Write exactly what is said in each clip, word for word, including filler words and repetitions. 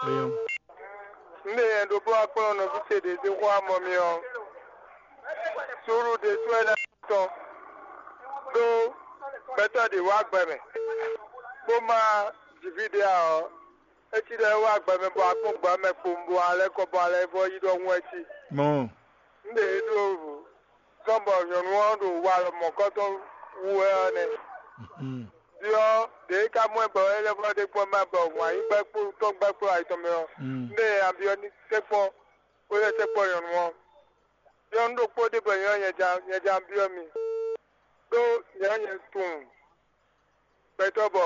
Eyɔn. Un ɖe nyɛ ɖokpó wá kplɔ́n nɔví ce ɖě dó xó amɔ mi ɔ́, suúlu ɖésú wɛ ná tɔn ɖó gbɛtɔ́ ɖě wá gbɛ mɛ, bó má ji fí ɖé ǎ ɔ́, é cí ɖɔ é wá gbɛ mɛ bɔ akpɔ́n gbǎ mɛ kpowun bɔ alɛ́ kɔ bɔ alɛ́ vɔ́ yí ɖɔhun wɛ cí. Mɔ̌. Un ɖe é ɖó zɔ́n bɔ nyɔ̌nu ɔ́ ɖo walɔ mɔ̌kɔtɔn wú wɛ ɔ́ nɛ́. Byɔ́ ɖě e ka mɔ ɛ bɔ é lɛ́ vɔ́ ɖe kpɔ́n má bɔ wǎn yí gbɛ́ kpó tɔ́n gbɛ́ kplɔ́ ayǐ tɔn mɛ ɔ́, un ɖe nya byɔ́ ní tɛ́nkpɔ́n bó lɛ́ tɛ́nkpɔ́n nyɔ̌nu ɔ́. Byɔ́ nú ɖokpó ɖé bɔ nyɛ ɔ́ nyɛ ján nyɛ ján byɔ́ mi, ɖó nyɛ ɔ́ nyɛ tunwun gbɛtɔ́ bɔ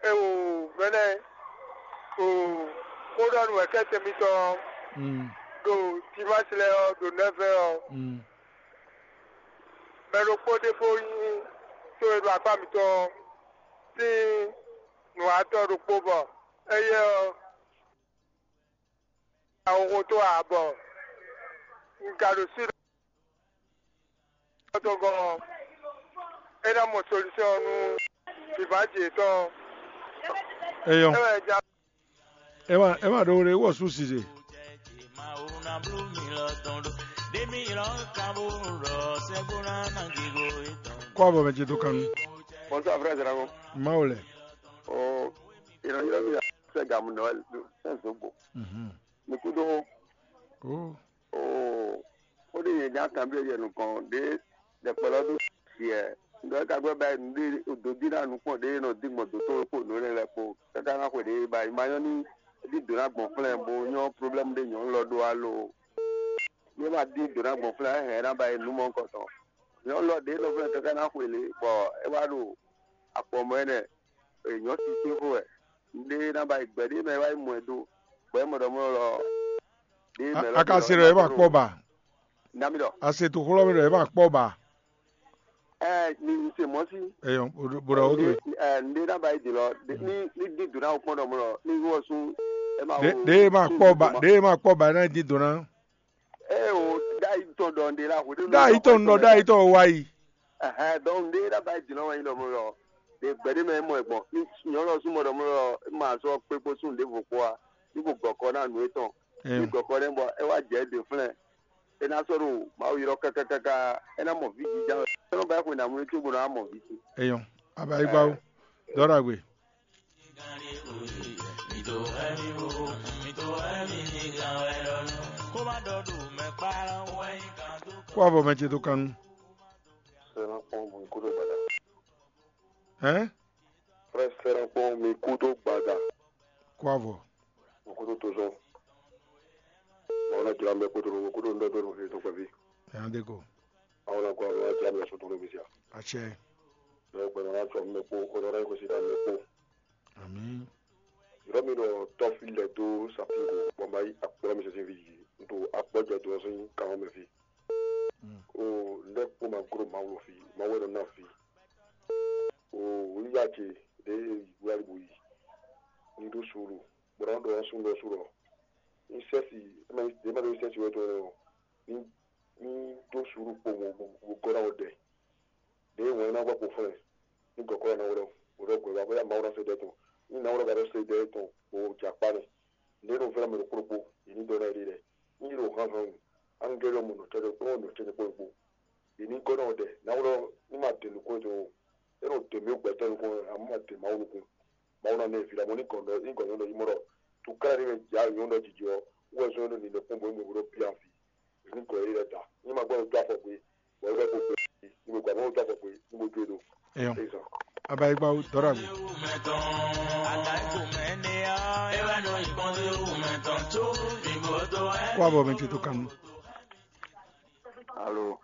é o mɛnɛ o xó ɖɔ nú wɛ̌kɛ́tɛn mitɔn ɔ́, ɖo Timási lɛ́ɛ ɔ́, ɖo nɛ̌vɛ́ ɔ́, mɛ ɖokpó ɖé bó nyí to e ɖo akpá mitɔn ɔ́ sín nǔwatɔ́ ɖokpó bɔ éyɛ́ ɔ́, ahoxo tó ǎ bɔ un ka ɖo sí tɔn gɔ́n ɔ́, é ná mɔ solúsɛ́n ɔ́ nú vǐvǎ ce tɔn. Eyɔn. É wɛ ja. Ema ema ɖo ɖe wɔ su size. Kó abɔ mɛ ce dó kanú. Bonsoir, frère Zérango. Mawu lɛ. Oh, il a eu la sɛ gamu Noël, c'est Zobo. Mhm. Mais kudo. Oh. Oh, o de yẹn nya kan bi yɛ nukɔn de de kpɛlɛ do siɛ. Ndɔ ka gbɛ ba nu de o do di na nukpɔn de nɔ di gbɔn do to ko no le lɛ ko. Kaka na xwe de ba ma nyɔ ni di do na gbɔn flɛ bo nyɔ problème de nyɔ lɔ do alo. Ye ma di do na gbɔn flɛ hɛ na ba nu mɔ kɔtɔn. Nyɔ lɔ de nɔ flɛ kaka na xwe le bɔ e wa do akpɔ mɔ enɛ. Nyɔ titi xo wɛ. Nde na ba gbɛ de mɛ wa mɔ ɛ do. Bɔ e mɔ dɔ mɔ lɔ. A ka se ɖɔ e ma kpɔ ba? Nami dɔ. A se to xlɔ mi ɖɔ e ma kpɔ ba? Ɛ ni n se mɔ si. Eyɔn, bo ɖɔ o to. Ɛ nde na ba yi di lɔ. Ni ni di do na o kpɔn dɔ mɔ lɔ. Ni wɔ sun. E ma ɖe ɖe e ma kpɔ ba ɖe e ma kpɔ ba e na di do na. Ɛ o da yi tɔn dɔ nde la ho de. Da yi tɔn nɔ da yi tɔn wa yi. Ɛhɛn, donc nde da ba yi di lɔ wa yi dɔ mɔ lɔ. De gbɛ de mɛ mɔ ɛ gbɔn. Ni nyɔ lɔ sun mɔ dɔ mɔ lɔ ma sɔ kpe kpo sun de vo kpo a. Ni ko gɔkɔ na nu etɔn. Ni gɔkɔ ne bɔ e wa jɛ de flɛ. E na sɔ ɖo Mawu yrɔ kákákáká, e na mɔ vǐ jija wɛ. E nɔ ba xwe na mlú cóbɔ ná mɔ vǐ ce. Eyɔn, abayigbawo, dɔɖagbe. Kó avɔ mɛ ce dó kan nú. Sɛnakpɔn bɔ kó ɖo gbada. Hɛn? Frère Sɛnakpɔn mi kú dó gbada. Kó avɔ. Mo kú dó tozɔn. Mo na jira mɛ kó tó mo kú dó ndɔ dó no fi tó kpɛvi. Ɛn de ko. Awo na kó awo na jira mɛ so tó no fi sia. Atsɛ. Mɛ gbɛ na tsɔ mɛ kó ko na ko si ta mɛ kó. Ami. Yɔrɔ mi ɖɔ tɔfi lɛ dó sapingo bɔ ma yi akplɔ mi sɛsɛ vi yi. N to akpɔ jɛ dó sɔn kan mɛ fi. O lɛ kpó ma gro ma wlo fi ma wɛ nɔ na fi. O wíwá ce ɖe wíwá bo yi. Ní ɖó suúlu bó ná ɖɔ ɔ́ sún ɖɔ sú ɖɔ ní sɛ́si é má ɖó sɛ́si wɛ tɔn ɔ́ ní ní dó suúlu kpo mo gɔ́ ná wɔ ɖɛ. Ɖěe wǎn ná gbɔ kpo flɛ́n ní gɔ̌kɔ́ ná wlɛ́ wǒ ɖɔ gbɛ̌ wá bóyá Mawu ná se ɖɛ tɔn ní ná wlɛ́ ba ɖɔ se ɖɛ tɔn kpo jɛ akpá nɛ. Nǔɖé nɔ vɛ́ mɛ ɖokpó ɖokpó yě ní dɔn ná yě ɖe lɛ́ɛ. Ní yě ɖo hánhán wǔ, ángɛ́lì ɔ́ mɔ nɔ tɛ́ ɖokpó mɔ nɔ tɛ́ ɖokpó ɖokpó. Yě ní gɔ́ ná wɔ ɖɛ ná wlɛ́ ní ma dě nukún tɔn ó. É nɔ dě mǐ gbɛtɔ́ nukún ǎ, má ma dě Mawu nukún. Mawu ná ná ɛ vǐ ɖo amɔ̌ ní gɔ̌n ní gɔ̌n nyɔ́ ɖɔ yi mɔ ɖɔ tokláɖí mɛ jǎ nyɔ̌nu ɖɔ jijɛ ɔ́, wú wɛ zɔ́n ɖo nǐ ɖɔ kpɔ́n bɔ é mɔ bó ɖɔ bíá fí. Ní gɔ̌ yě ɖɛ ta ní ma gbɔdɔ dó afɔ gbé, bɔ é bɛ kó gbé ní gbogbo àmọ́ dó afɔ gbé ní gbogbo é ɖo. Eyɔn. Abayigba dɔrɔ agbe. Kó abɔ mi tito kanu. Alo.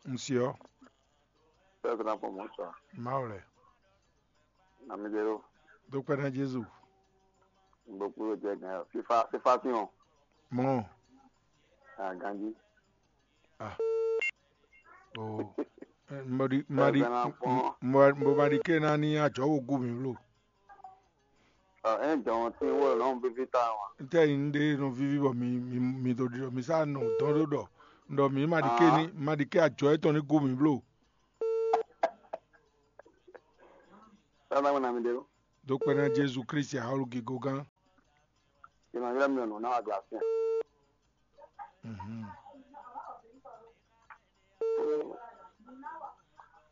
Nsiɔ. Pɛpɛ na pɔ mɔ sɔ. Mawulɛ. Namidero. Dukpɛ na Jesu. Gbogbo jẹ gan fifa fifa fi hàn. Mɔ. Aganji. Ah. Oh. Mɔdi mɔdi mɔdi ke na ni ajɔ wo gu mi blo. Ɛ jɔn tí wọ́n lọ́n bíbí tá wọn. N tẹ́ yìí ń ɖe nɔ víví bɔ mi mi mi do ɖi mi sá nɔ dɔn ɖó ɖɔ ɖɔ mi ma ɖi ke ni ma ɖi ke ajɔ etɔn ní gu mi blo. Sábà wọn nà mi dé o. Dó kpɛ ná Jésù Kristi ahɔlu gígó gán. Sinon, ylɔ́ mì ɖɔ nǔ ná wa glafin. Mhm.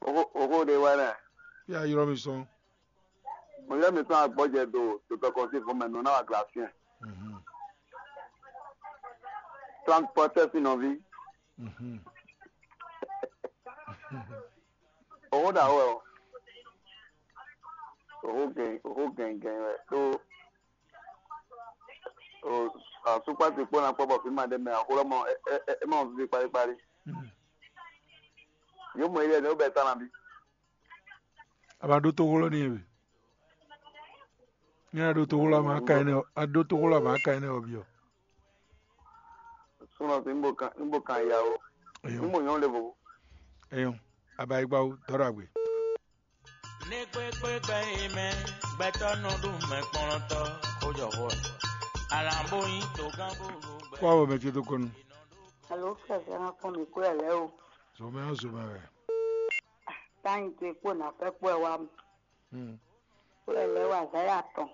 Oxó oxó ɖé wɛ nɛ. Fí a ylɔ́ mi sɔn. Mo ylɔ́ mi sɔn agbɔjɛ do dotɔ kɔnsi fún mɛ nǔ ná wa glafin. Mhm. Trente procès nɔví. Mhm. Oxó ɖa wɛ o. Oxó gɛn oxó gɛngɛn wɛ tó. Asukpasi kpó na kpɔ́ bɔ fí ma ɖé mɛ axó lɔ mɔ é mɔ vivi kpalíkpalí. Yǒ mɔ ilé ɛnɛ ó bɛ tá na bí. A ba ɖó toxó lɔ n'i wɛ. Ní a ɖó toxó lɔ a ma ka ɛnɛ ɔ́, a ɖó toxó lɔ a ma ka ɛnɛ ɔ́ byɔ́. Súnɔ sí níbo kan níbo kan ya o. Eyɔn. Níbo nyɔ́ le vovo. Eyɔn. A ba yi gba wú dɔ́ ɖo agbe. Ní kpékpékpé yi mɛ, gbɛtɔ́ nɔ ɖu mɛ kplɔ́ntɔ́, xó jɔ xó ɛ. Alǎn bó nyí togán bó ɖo gbɛ. Kó awɔ mɛ ce dó kɔnu. Alo, kɛsɛ na kpɔn mi kúrò lɛ o. Zomɛ ɔ́ zomɛ wɛ. Táyìn tó kpó nà fẹ́ kpó ẹ wá mu. Hmm. Kúrò lɛ wá záyà tɔn.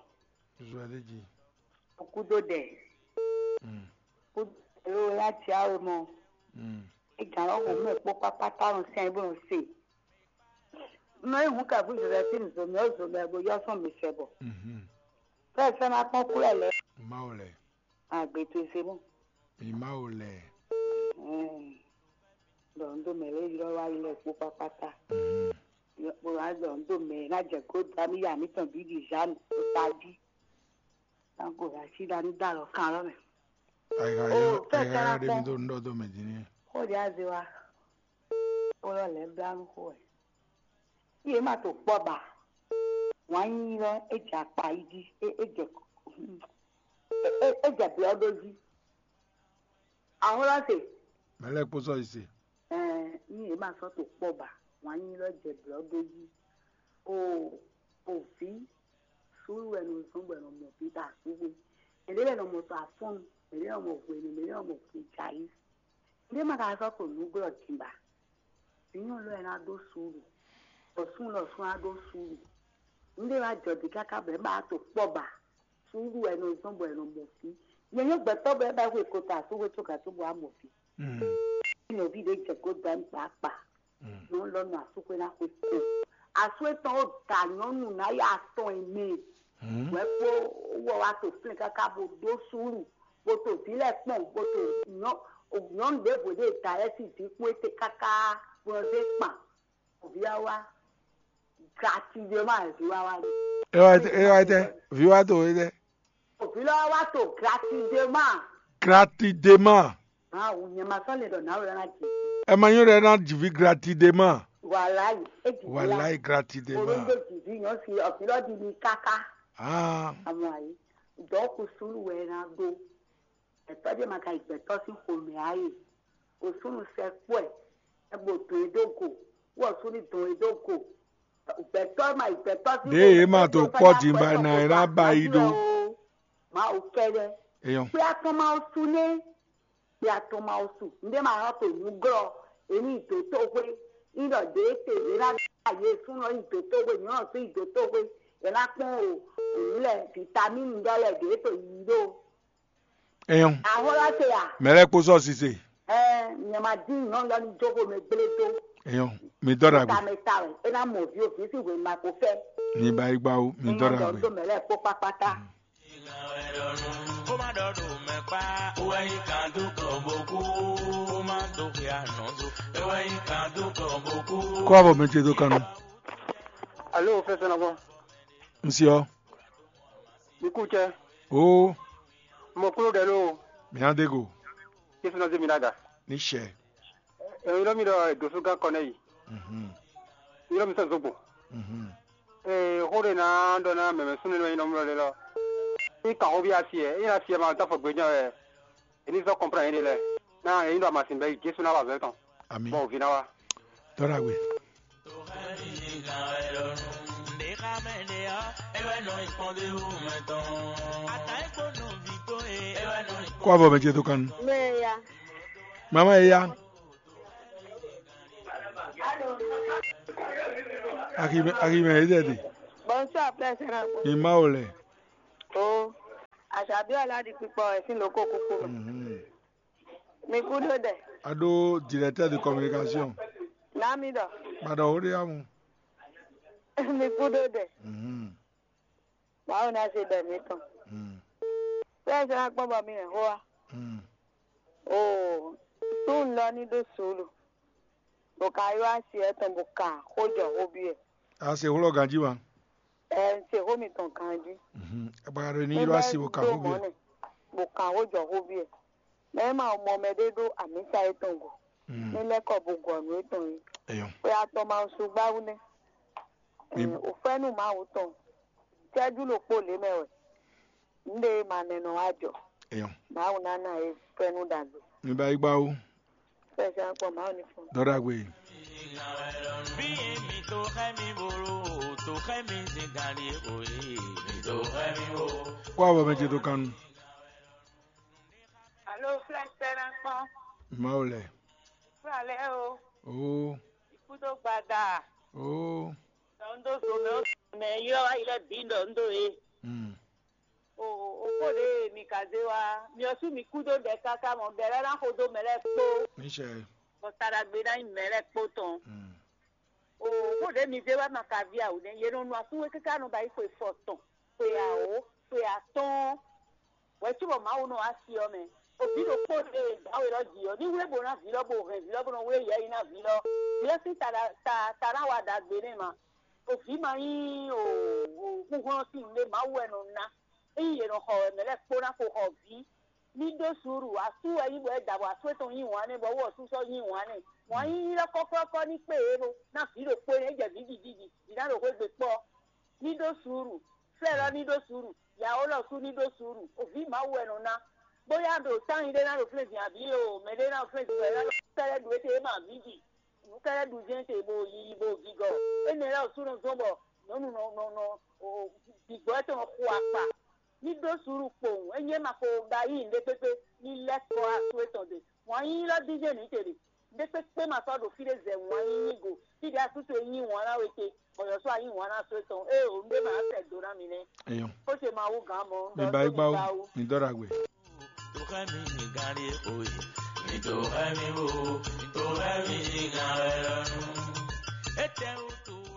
Zɔ ɛ dé jí. Kúdó ɖɛ. Hmm. Kúdó ɖɛ ló yá tsiá we mɔ. Hmm. Ega lɔ xo mɛ kpó kpákpá tá lɔ sɛn bó nɔ se. Nɔ yi hun ka bú zɔzɔ tí nzɔmɛ ɔ́ zɔmɛ bó yɔ sɔn mi sɛ bɔ. Mhm. Fɛ fɛ ma kpɔn kúlɛ lɛ. Mawu lɛ. Agbe to se mɔ. Mi Mawu lɛ. Ɛɛ. Dɔ n do mɛ lɛ ylɔ wa yi lɛ kpó kpákpá tá. Mhm. Bó wá dɔ n do mɛ ná jɛ kó da mi ya mi tɔn bí di zan o ta jí. Tanko ya si da ní da lɔ kan lɔ mɛ. Ayixa yɔ ayixa yɔ ɖe mi do ŋɖɔ do mɛ din nɛ. Xó ɖe aze wa. Xó lɔ lɛ bla nu xó wɛ. Iye ma to kpɔ ba. Wǎn yíyí lɔ é jɛ akpa yi jí é é jɛ é é jɛ blɔ ɖó jí. Ahɔ́lɔ́ se. Mɛ lɛ́ɛ kpó sɔ́ yi se. Ɛɛ ní yě ma sɔ́ to kpɔ́ ba, wǎn nyí lɔ jɛ blɔ̌ dó jí. O o vǐ, súnnu wɛ nɔ zɔ́n bɔ è nɔ mɔ vǐ ta súnnu. Mɛ̌ ɖé lɛ́ɛ nɔ mɔ to afɔ́nnu, mɛ̌ ɖé nɔ mɔ hwenu, mɛ̌ ɖé nɔ mɔ hwejǎyi. Nǔɖé ma ka sɔ́ to nǔglɔ́ din ba. Vǐ nyɔ̌nu lɔ ɛ ná ɖó suúlu, bɔ súnnu lɔ sún ná ɖó suúlu. Nǔɖé ma jɔ din káká bɔ è ma to kpɔ́ ba. Suúlu wɛ è nɔ zɔ́n bɔ è nɔ mɔ vǐ. Nyɛ nyɔ́ gbɛtɔ́ bɔ é ba hwe kota asúhwe có gǎn tó bɔ wá mɔ vǐ. Nɔví ɖé jɛ kó dɔn kpakpa. Nɔ lɔ nɔ asúxwé ná xwe kpo. Asú étɔn ó da nyɔ̌nu ná yá atɔn e mɛ. Wɛ kpó wɔ wá to flɛ́n káká bó ɖó súúlu, bó to vǐ lɛ́ɛ kpɔn, bó to nyɔ̌nu ɖěvo ɖé da lɛ́ɛ sín vǐ kpó étɛ́ káká bó nɔ zé kpan. Vǐ wá wá, gratidema vǐ wá wá. É wá é wá tɛ, vǐ wá to é tɛ. Vǐ lɔ wá to gratidema. Gratidema. Ah, o nyɛ ma sɔ́ lɛ ɖɔ nǎwe ɔ́ ná jɛ. Ɛ ma nyɔ́ ɖɛ ná jǐví gratidema. Wàláyé, é jǐví lá. Wàláyé gratidema. Olóńgbò jǐví yàn sí ọ̀fìn lọ́ọ́ di mi káká. Ah. Àmọ́ àyè, dɔ̌ kú súnú wɛ ná ɖó. Ẹ̀tọ́ jẹ́ ma ka yi gbɛ̀tọ́ sín xomɛ á yè. O súnnu sɛ kpɔ́ ɛ, ɛ bo dɔn e dó go, wɔ súnnu dɔn e dó go. Gbɛtɔ́ ma yi gbɛtɔ́ sín. Ɖěe yě ma to kpɔ́ din ba ná é ná ba yi ɖó. Mawu kɛ́ɖɛ́. Eyɔn. Kpé atɔn ma su nɛ. Kpé atɔn ma su. Nɖé ma nɔ to nǔ glɔ́. Èmi dǒ tó xwé. Ní ɖɔ ɖě te yě ná ɖa yě súnnu yi dǒ tó xwé. Nyɔ̌nu sí yi dǒ tó xwé. Yě ná kpɔ́n o. Òun lɛ vitamínu ɖɔ lɛ ɖě to yí ɖó. Eyɔn. Ahɔ́lá se ya. Mɛ lɛ́ɛ kpó sɔ́ sise. Ɛɛ, nyɛ ma dín nyɔ̌nu lɔ ní jókòó mɛ gblé dó. Eyɔn. Mi dɔ́ ɖagbe. Tamɛ ta wɛ, é ná mɔ vi o vi sí hwenu ma ko fẹ́. Mi ba yi gba o, mi dɔ ɖagbe. Dɔ mɛ lɛ́ɛ kpó kpákpátá. Kó má dɔ ɖo mɛ kpá, ó wá yí kan dó kɔ bó kú, kó má dó xwe àná dó, é wá yí kan dó kɔ bó kú. Kó abɔ mɛ ce dó kanu. Alo, fɛsɛnɔgbɔn. N si ɔ. Mi kú cɛ. Oo. Mɔ kúló ɖɛ ló. Mi hã dé go. Jésù náà zé mi lága. Ní sɛ. Ẹ ylɔ́ mì ɖɔ dǒsúgán kɔ nɛ́ yi. Mhm. Ylɔ́ mì sɔ́ zogbo. Mhm. Ee, xó ɖé ná ɖɔ ná mɛ̌mɛ́ súnnu e nɔ nyi nɔ mlɔ́ ɖé lɔ. Ní kan xó bí asi ɛ, é ná asi ɛ ma dó afɔ gbé jɛ́n wɛ. È ní zɔ́ kɔnplán yě ɖe lɛ́ɛ. Ná è ní ɖo amasin bɛ́ yi Jésù ná wa azɔ̌ tɔn. Ami. Bɔ wǒ ví ná wá. Tɔ́ ɖagbe. Kó avɔ mɛ ce tó kan. Mɛ ya. Mama ya. Akime akime yi dɛ di. Bonsoir, frère Sénat. Ni ma o lɛ. Oh. Aṣabí Aládìpípọ̀ ẹ̀ sín lóko kúkú mɛ. Mhm. Mi kú dó dɛ. A ɖó directeur de communication. Nami ɖɔ. Ba ɖɔ wo ɖe amu. Mi kú dó dɛ. Mhm. Báwo ná ṣe bẹ̀ mí tán? Mhm. Bẹ́ẹ̀ ṣe wá gbọ́n bọ̀ mí rẹ̀ hó wa. Mhm. Oo, sún un lɔ ní ɖó suúlu. Bó ka ylɔ́ asi ɛtɔn bó kan xó jɔ xó byɔ́ ɛ. A se xó lɔ ganjí wa. Ɛ, un se xó mitɔn ganjí. Mhm. Abakado ní ylɔ́ asi bó kan xó byɔ́ ɛ. Bó kan xó jɔ xó byɔ́ ɛ. Mɛ e ma mɔ mɛ ɖé ɖó amǐsa yětɔn go. Mm. Ní lɛ́ kɔ bo gɔ nǔ yětɔn é. Eyɔn. Xwe atɔn ma su gbáwú nɛ́. Ní- Ɛ, o fɛ́nú Mawu tɔn. Cɛ́jú ɖokpó lě mɛ wɛ. Nǔɖé ma nɛnɔ wá jɔ. Eyɔn. Mawu ná ná e fɛ́nú ɖagbe. Mi ba yi gbáwú. Fɛsɛ akpɔ Mawu ní fún. Dɔ ɖagbe. Bí mi tó xẹ́ mi bolo, tó xẹ́ mi zin gari o yìí, mi tó xẹ́ mi bolo. Kó àwọ̀ mɛ ce tó kanu. Alo, flɛsɛ na kpɔn. Mawu lɛ. Fúlàlẹ́ o, Oo. Ikú tó gbada. Oo. Dɔ ń dó zo mɛ ó mɛ ylɔ́ wá yi lɛ́ bǐ ɖɔ ń dó e. Mm. O o kó ɖe mi ka zé wá. Mi ɔ́ sú mi kú dó ɖɛ káká mɔ, bɛ̌ lɛ́ ná xo dó mɛ lɛ́ɛ kpó. Níṣẹ́. Bɔ ta ɖagbe ná nyí mɛ lɛ́ɛ kpó tɔn. Mm. O kó ɖe mi zé wá ma ka ví awǔ nɛ́. Yě nɔ nu asúnwé káká nɔ ba yi xwe fɔ tɔn, xwe awǒ, xwe atɔ́ɔ́n. Hwɛ̌ cóbɔ Mawu nɔ wá asi ɔ́ mɛ. Oví ɖokpó ɖe e dǎwe lɔ ji ɔ́, ní wlé bo ná vǐ lɔ, bo hɛn vǐ lɔ, bo nɔ wlé yɛ yi ná vǐ lɔ. Vǐ lɔ sín ta ná- ta ta ná wa ɖagbe nɛ́ ma. Oví ma nyí o o kúnhlɔ́n sín nǔɖé, Mawu wɛ nɔ ná. Ényí yě nɔ xɔ wɛ, mɛ̌ lɛ́ɛ kpó ná ko xɔ vǐ. Ní ɖó suúlu, asú wɛ nyí bɔ é da bɔ asú étɔn nyí wǎn nɛ́, bɔ wú ɔ́ sú sɔ́ nyí wǎn nɛ́. Wǎn nyínyí lɔ kɔ́kɔ́kɔ́ ní kpé yě ɖo ná vǐ ɖokpó énɛ́ é jɛ vǐ gigigi, vǐ ná ɖo xwé gbe kpɔ́. Ní ɖó suúlu, flɛ́ lɔ ní ɖó suúlu, yǎ ó lɔ sú ní ɖó suúlu, vǐ Mawu wɛ nɔ ná. Bóyá ɖo tányi ɖé ná ɖo flɛ́nzin abǐ o, mɛ ɖé ná ɖo flɛ́nzin wɛ ná ɖo kɛ́ɖɛ́ ɖu étɛ́ é ma vǐ ji. Nǔ kɛ́ɖɛ́ ɖu jɛ́n te bo yiyi bo gigɔ. Énɛ́ lɛ́ɛ ɔ́ sú nɔ zɔ́n bɔ nyɔ̌nu nɔ nɔ nɔ gbigbɔ étɔn nɔ xo akpa. Ní ɖó suúlu kpowun, ényí é ma ko ɖo ayǐ nǔɖé kpékpé, ní lɛ́ kɔ asú étɔn ɖe. Wǎn yíyí lɔ dín jɛ́n nǔ ce ɖe. Nǔɖé kpékpé ma sɔ́ ɖo fí ɖé zɛ wǎn yíyí go. Fí ɖě asú towe nyí wǎn ná we te, bɔ yɔ̌sú a nyí wǎn ná asú étɔn. Ée o, nǔɖé ma ná sɛ do ná mi nɛ́. Eyɔn. Xó ce Mawu gǎn mɔ, un Mi ɖɔ ba nú yi mi gbá wú, gbáwú. Mi dɔ́ ɖagbe.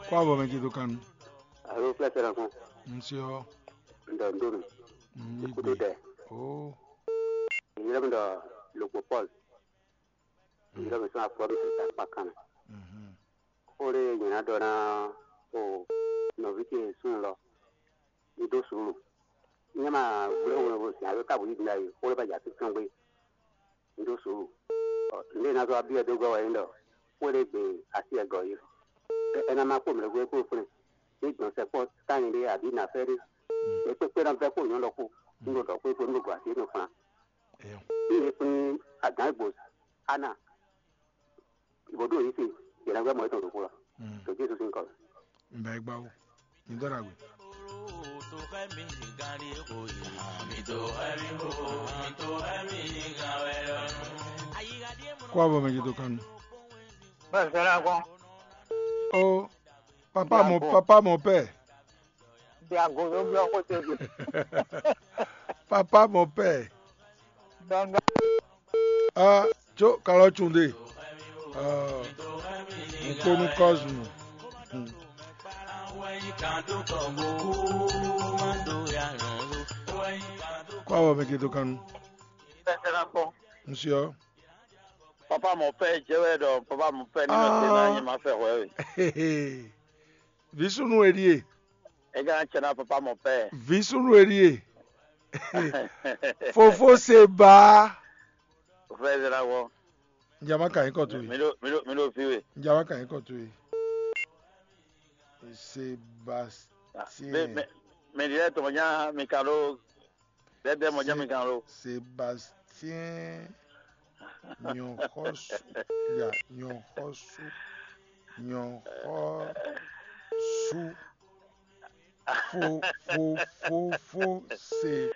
Kó avɔ mɛ ce dó kan nu. Alo, flɛ́sɛ ɖo fún. Ŋsɛ ɔ́. Un ɖɔ nǔ dó mì. Mm, Kúdó dɛ. Oh. Nyɛ mi ɖɔ Logbo Paul. Nyɛ mi sɔn afɔ ɖo ta kpa kan. Mhm. Xó ɖé nyɛ ná ɖɔ ná o nɔví ce súnnu lɔ. Ní dó suúlu. Nyɛ ma gblé hwlɛnvɔ sin ayo ka bǔ yí din ɖ'ayǐ, xó ɖé bɔ jɛ así tɔn gbé. Un ɖó suúlu. Ɔ, nǔɖé e ná zɔ́ wá byɔ́ dó gɔ́ wɛ nyí ɖɔ xwé ɖé gbe así wɛ gɔ̌ yí. Ɛ ná má kpó mɛ ɖokpó kpó flɛ́n. Ní gbɔn sɛkpɔ́ tányi ɖé abǐ nǎfɛ́ ɖé. Mɛ kpékpé ná vɛ́ kpó nyɔ̌ ɖɔkpó. Un ɖo ɖɔ xwé kpó nú ɖo gɔ̌ así nɔ flan. Eyɔn. Ní yě kplín agǎn e gbo Ana, bó ɖo yě se, yě ná gbɛ́ mɔ yětɔn ɖokpó lɔ. Mm. Ɖo Jezu sín kɔ mɛ. Un bɛ gbá wú. Mi dɔ́ ɖagbe. Kó avɔ mɛ ce dó kan nu. Bẹ́ẹ̀ sẹ́lá gbọ́n. Ó, papa mon, papa mon père. Diago ló gbé ọkọ tẹ̀lé. Papa mon père. Gbangba. Ah, tso kalɔ tsun de. Ah, nkponu Cosmo. Hmm. Kó avɔ mɛ ce dó kan nu. Bẹ́ẹ̀ sẹ́lá gbọ́n. Ŋsɛ ɔ́. Papa mon père jẹ́ wɛ ɖɔ papa mon père ní nɔ te ná nyɛ ma fẹ́ hwɛ we. Vǐ súnnu e ɖíe. É gán acɛ ná papa mon père. Vǐ súnnu e ɖíe. Fofó se ba. Fẹ́ zra wɔ. Njama ka nyǐkɔ towe. Mi ɖo mi ɖo mi ɖo fi we. Njama ka nyǐkɔ towe. Sébastien. Mɛ mɛ mɛ ɖi lɛ tɔmɔ nya mi ka ɖo. Dɛdɛ mɔ jɛ mi kan lo. Sébastien Nyɔxɔsu ya Nyɔxɔsu Nyɔxɔsu fo fo fo fo se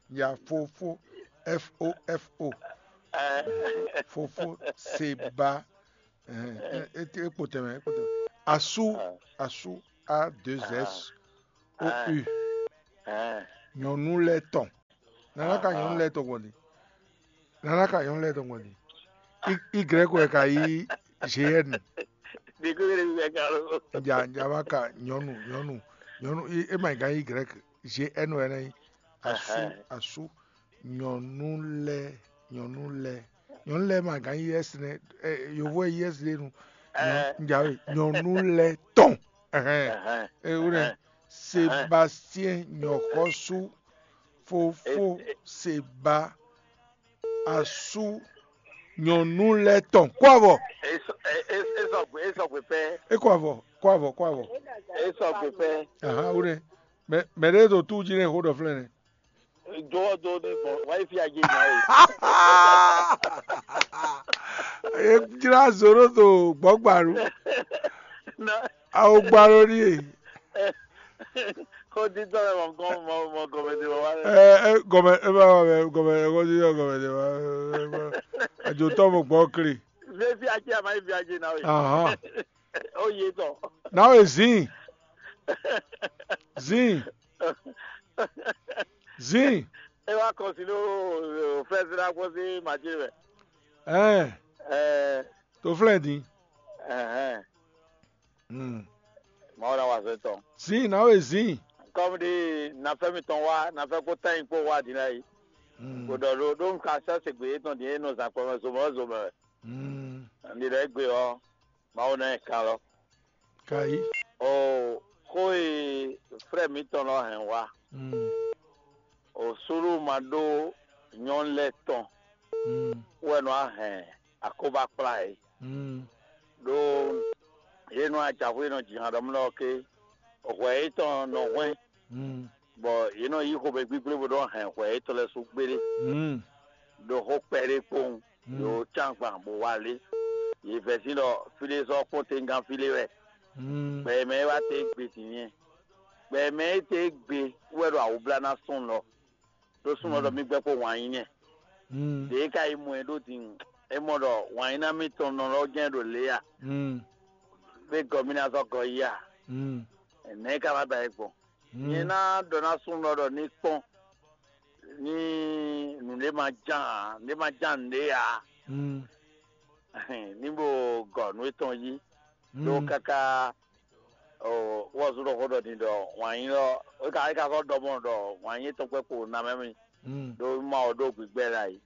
ya fofo F O F O fofo Seba. Ekpo tɛmɛ ekpo tɛmɛ asu asu A deux S O U. Nyɔnu lɛ tɔn. Nana ka nyɔnu lɛ tɔn gbɔn ni. Nana ka nyɔnu lɛ tɔn gbɔn ni. Y wɛ ka yi G N. Ɖiku ɖe ɖe ka lo. Nja nja ma ka nyɔnu nyɔnu nyɔnu. E ma yi ka yi Y, G N wɛ na yi. Asu asu. Nyɔnu lɛ nyɔnu lɛ nyɔnu lɛ ma ka yi S nɛ. Yovo yi S ɖe nu. Nja we nyɔnu lɛ tɔn. Ɛhɛn. Ewúrẹ́. Sébastien nyɔ̌xɔ́sú fofó Seba asú nyɔ̌nu lɛ́ɛ tɔn kó avɔ. Esɔgbe esɔgbe pɛ. É kó avɔ kó avɔ kó avɔ. Esɔgbe pɛ. Aha wúrẹ́. Mɛ mɛ ɖé ɖo tú jí nɛ xó ɖɔ flɛ́ nɛ. Jɔwɔ do ní gbɔn wáyé fi ajé nya o. E jlá zoro do gbɔgbaru. Na Awo gba ɖo ɖíe. Xó dídɔn lɛ mɔ gɔn mɔ mɔ gɔmɛ de wá lɛ. Ɛ ɛ gɔmɛ e ma wà mɛ gɔmɛ ɛ xó dídɔn gɔmɛ de wá. Àjòtɔ mo gbɔ kli. Vɛ fi ajé a ma yi fi ajé na o. Ahan. O ye tɔ. Na o zin. Zin. Zin. E wa kɔsi ɖo fɛsira kɔsi madzi mɛ. Ɛn. Ɛ. To flɛ din. Ɛhɛn. Hmm. Mawu na wa zɛ tɔn. Zin na we zin. Kɔmi di nafɛ mi tɔn wa nafɛ ko tan yi kpo wa di na yi. Hmm. Ko dɔ ɖo ɖo nka sɛ se gbe yetɔn di e nɔ zan kpɔmɛ zomɛ zomɛ. Hmm. Ndi ɖe gbe ɔ Mawu na yi kan lɔ. Kayi. O xó e frɛ mitɔn lɔ hɛn wa. Hmm. O sulu ma ɖó nyɔnu lɛ tɔn. Hmm. Wɛ nɔ hɛn akóbá kplá yě. Mm. Ɖó yě nɔ ajaxwé nɔ ji han ɖɔ mlɔ́ ké hwɛ yětɔn nɔ hwɛ́n, mm, bɔ yě nɔ yí xomɛ gbígblébo nɔ hɛn hwɛ yětɔn lɛ́ɛ sú gbéɖé, mm, ɖo xó kpɛɖé kpowun, mm, ɖo cán gban bó wá lé. Yě vɛ́sin ɖɔ fí ɖé sɔ́ kpɔ́n tɛngán fí ɖé wɛ. Mm. Gbɛ e mɛ é wá te gbe din nyɛ. Gbɛ e mɛ é te gbe wɛ ɖo awǔblá ná sɔn lɔ. Ɖó súnnu ɔ́ ɖɔ mì gbɛ́ kpó wǎn yí nyɛ. Ɖěe ka yi mɔ ɛ ɖó din, é mɔ ɖɔ wǎn yí ná mì tɔn nɔ lɔ jɛ́n ɖo lě a? Bé gɔ mì ná zɔ́ gɔ yí a? Nɛ̌ ka ná da ɛ gbɔn? Nyɛ ná ɖɔ ná súnnu ɔ́ ɖɔ ní kpɔ́n ní nǔɖé ma ján ǎ, nǔɖé ma ján nǔɖé ǎ, ní bó gɔ nǔ étɔn yí. Ɖó káká wɔzú ɖɔ xó ɖɔ din ɖɔ wǎn yí ɔ́, é ka é ka sɔ́ ɖɔ mɔ ɖɔ wǎn yí tɔn kpɛ́ kpo ná mɛ mì ɖó ma wɔ ɖó gbigbɛ lɛ ayǐ.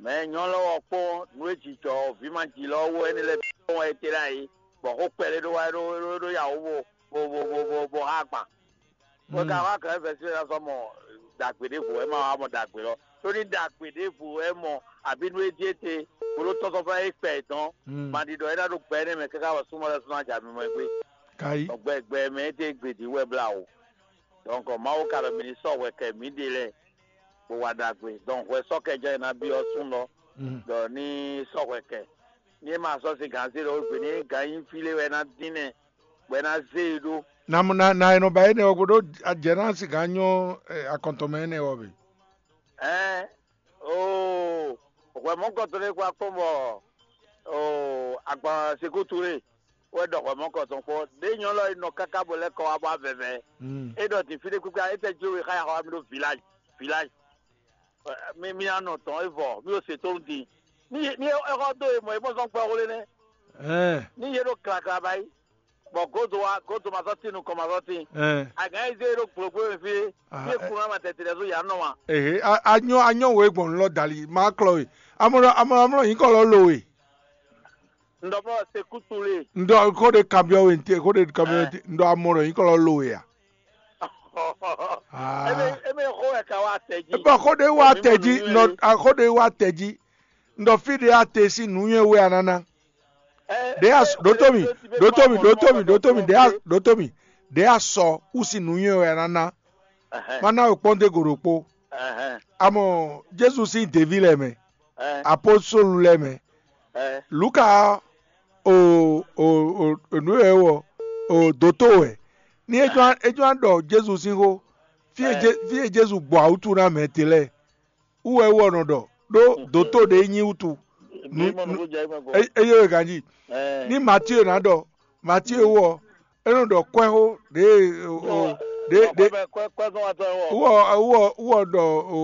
Mɛ nyɔ́ lɔ wɔ kpɔ́n nú é jijɔ vǐ ma ji lɔ wó énɛ́ lɛ́ɛ bǐ kpɔ́n wɛ é te lɛ ayǐ, bɔ xó kpɛɖé ɖó wá é ɖó é ɖó yǎwó bo bo bo bo bo bo xá agban. Bɔ ka wá kɛ vɛ̌ sín ná sɔ́ mɔ ɖagbe ɖěvo wɛ é ma wá mɔ ɖagbe lɔ. Ɖó ní ɖagbe ɖěvo wɛ é mɔ abǐ nú é ɖíe te, bó ɖó tɔ́sɔ́fá é kpɛ dɔn, ma ɖi ɖɔ é ná ɖo gbɛ énɛ́ mɛ káká bɔ súnmọ́ lɛ́ɛ sɔ́ ná jɛ amimɔ ɛ gbé. Kayi. Bɔ gbɛ gbɛ mɛ é ɖe gbe ɖi wɛ blá o. Donc Mawu ka ɖɔ mì ní sɔ́ hwɛ kɛ mǐɖée lɛ́ɛ, bó wa ɖagbe. Donc hwɛ sɔ́ kɛ jɛ́n è nǎ byɔ́ súnnu ɔ́, ɖɔ ní sɔ́ hwɛ kɛ. Ní é ma sɔ́ sin gǎn zé ɖɔ gbe ní gǎn nyí fí lé wɛ é ná dín nɛ, bɔ é ná zé e ɖó. Na mo na na e nɔ ba énɛ́ ɔ́ gbe ɖó jɛ ná sin gǎn nyɔ́ akɔntɔn mɛ énɛ́ ɔ́ bǐ. Ɛɛ oo, hwɛ mɔ̌kɔtɔn ɖé kó akpɔ́n bɔ oo agban sekútu lé wɛ ɖɔ hwɛ mɔ̌kɔtɔn kpɔ́n. Ɖěe nyɔ́ lɔ e nɔ káká bo lɛ́ kɔ wá bɔ avɛvɛ. É ɖɔ din fí ɖé kpíkpé, étɛ́ jó we xá ya xɔ wá mì ɖó village village. Mi mi anɔ tɔn e vɔ mi o se to din. Ni ni e xɔ do e mɔ e bɔ zɔn kpɛ xwle nɛ. Ɛɛ Ni ye ɖo klakla ba yi. Bɔ godo wa godo ma sɔ tin nukɔn ma sɔ tin. Ɛɛ Agán yi zé ɖo gblogblo mi fi. Ah, Ye ɛ- kun ama tɛtɛ ɖe so ya nɔ wa. Ehe, a- anyɔ anyɔ wo gbɔn lɔ dali ma klɔ we. Amɔ amɔ amɔ yin kɔ lɔ lo we. N dɔ mɔ se kutu le. N dɔ ko de kabiɔ we nte ko de kabiɔ we nte n dɔ amɔ lɔ yin kɔ lɔ lo we ya. Ah. Eme eme xo wɛ ka wa tɛ ji. Bɔ xó ɖé wá tɛ jí nɔ xó ɖé wá tɛ jí. Nɔ fí ɖé a te sín nǔnywɛ́ wɛ a nǎ ná. Ɖě a ɖǒtó mì ɖǒtó mì ɖǒtó mì ɖǒtó mì ɖě a ɖǒtó mì ɖě a sɔ wú sín nǔnywɛ́ wɛ a nǎ ná. Má ná we kpɔ́n dó go ɖokpó. Amɔ Jezu sín deví lɛ́ɛ mɛ, apostolu lɛ́ɛ mɛ, Luka ɔ́, o o o nǔ e wɛ é wɔ o dǒtó wɛ. Ní é jɔ́n é jɔ́n ɖɔ Jezu sín xó, fí e Jé- fí e Jezu gbɔ awútu ná mɛ te lɛ́ɛ, wú wɛ é wɔ nɔ ɖɔ, ɖó dǒtó ɖě nyí wútu. Nǔ- nǔ- é- Eye wɛ ganjí. Ní Matíe ná ɖɔ, Matíe wú ɔ, é nɔ ɖɔ kwɛ́xó ɖě e- o- o- ɖě ɖě wú ɔ wú ɔ wú ɔ ɖɔ o